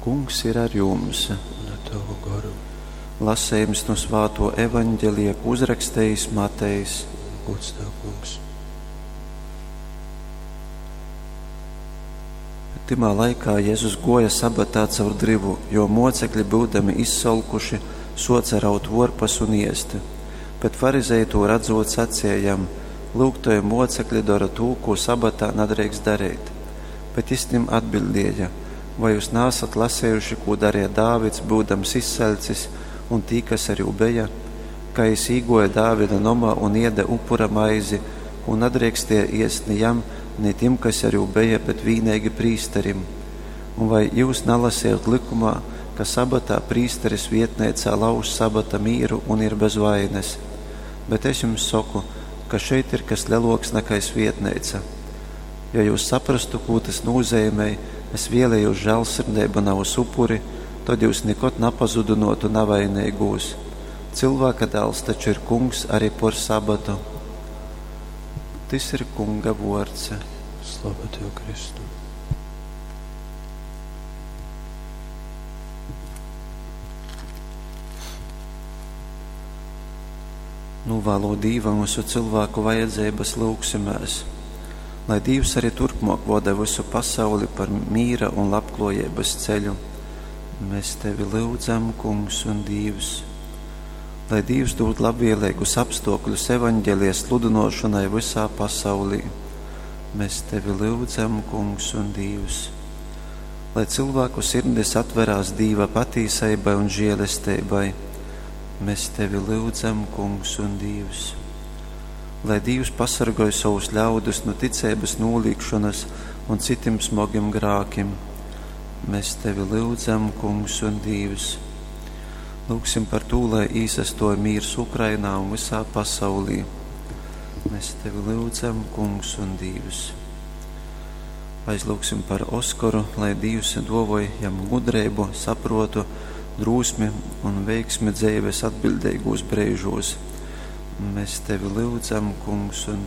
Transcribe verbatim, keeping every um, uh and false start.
Kungs ir ar jums. Un ar tavu goru. Lasījums no svāto evaņģelija, ko uzrakstījis Matejs. Gods tev, kungs. Timā laikā Jēzus goja sabatā caur drivu, jo mocekļi, būdami izsolkuši, soca raut vorpas un iesti. Bet farizeji to redzot sacīja jam: Lūk, toji mocekļi dara tū, ko sabatā nadrīkst darīt. Bet jis tim atbildēja: Vai jūs nāsat lasējuši, ko darīja Dāvids, būdams izsaļcis, un tī, kas ar jū beja? Kā jis īgoja Dāvida nomā un ieda upura maizi, ko nadrīkstēja iest ni jam, ni tim, kas ar jū beja, bet vīneigi prīsterim. Un vai jūs nalasījāt likumā, ka sabatā prīsteris vietnēcā lauž sabata mīru un ir bez vaines? Bet es jums saku, ka šeit ir kas leloks nekā svietneica. Ja jūs saprastu, ko tas nozīmē, es vēlēju žēlsirdību nav uz upuri, tad jūs nekad napazudinotu navainīgūs. Cilvēka dēls taču ir kungs arī por sabatu. Tis ir kunga vords. Slava tev, Kristu. Novēlo Dīvam visu cilvēku vajadzības lūgsimēs, lai Dievs arī turpmāk voda visu pasauli par mīra un labklājības ceļu. Mēs tevi lūdzam, Kungs un Dievs. Lai Dievs dod labvēlīgus apstākļus evaņģēlijas sludinošanai visā pasaulī. Mēs tevi lūdzam, Kungs un Dievs. Lai cilvēku sirdis atverās Dieva patīsībai un žēlestībai. Mēs tevi lūdzam, Kungs un Dievs. Lai Dievs pasargoj savus ļaudus no ticības nolīgšanas un citiem smagiem grākiem. Mēs tevi lūdzam, Kungs un Dievs. Lūgsim par to, lai īsastoja mīrs Ukrainā un visā pasaulī. Mēs tevi lūdzam, Kungs un Dievs. Aizlūgsim par Oskaru, lai Dievs dovoj jam gudrību, saprotu, drūsmi un veiksmi dzīves atbildīgos brīžos. Mēs tevi lūdzam, Kungs un